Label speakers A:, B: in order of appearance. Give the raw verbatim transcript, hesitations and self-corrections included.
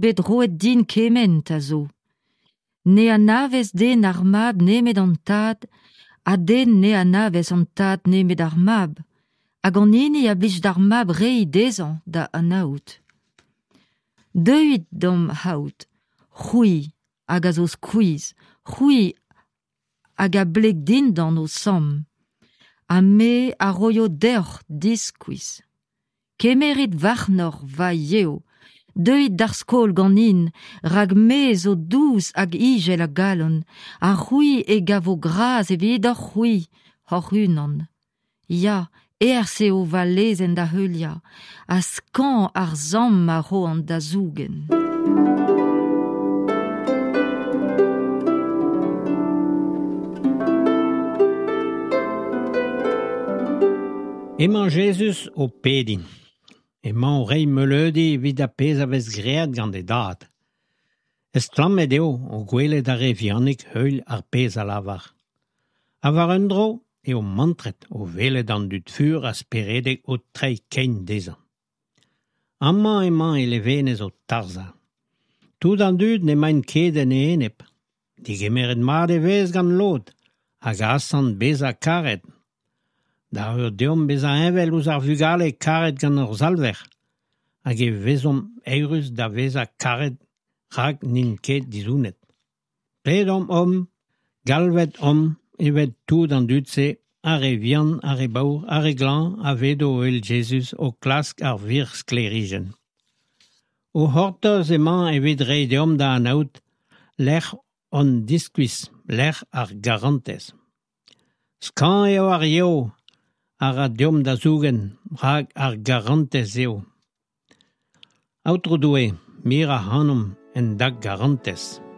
A: bet roet din kement a zo. Ne anavez den ar Mab nemet an Tad, ha den ne anavez an Tad nemet ar Mab, hag an hini a blij d'ar Mab reiñ dezhañ da anaout. Deuit d'am c'haout, c'hwi hag a zo skuizh, c'hwi hag a bleg dindan ho samm, ha me a roio deoc'h diskuizh. Kemerit warnoc'h va yev, deuit d'ar skol ganin, rak me zo dous hag izel a galon, ha c'hwi e gavo gras evidoc'h-c'hwi hoc'h-unan. Ya, aes eo va lezenn da heuliañ, ha skañv ar samm a roan da zougen.
B: Emañ Jezuz o pediñ. Emañ o reiñ meuleudi evit ar pezh a vez graet gant e dad. Estlammet eo o gwelet ar re vihanik heuilh ar pezh a lavar. Ha war un dro eo mantret o welet an dud fur ha speredek o treiñ kein dezhañ. Amañ emañ e levenez o tarzhañ. Tout an dud n'emaint ket en e enep. Degemeret mat e vez gant lod hag asant bezañ karet. Da eur deomp bezañ heñvel ouzh ar vugale karet gant hor Salver hag e vezomp eürus da vezañ karet rak n'int ket dizounet. Pedomp omp, galvet omp evel tout an dud-se, ar re vihan, ar re baour, ar re glañv a vedo o heul Jezuz o klask ar wir sklêrijenn. O c'hortoz emañ evit reiñ deomp da anaout lec'h hon diskuizh, lec'h ar garantez. Skañv eo ar yev a ra deomp da zougen, rak ar garantez eo. Aotrou Doue, mir ac'hanomp en da garantez.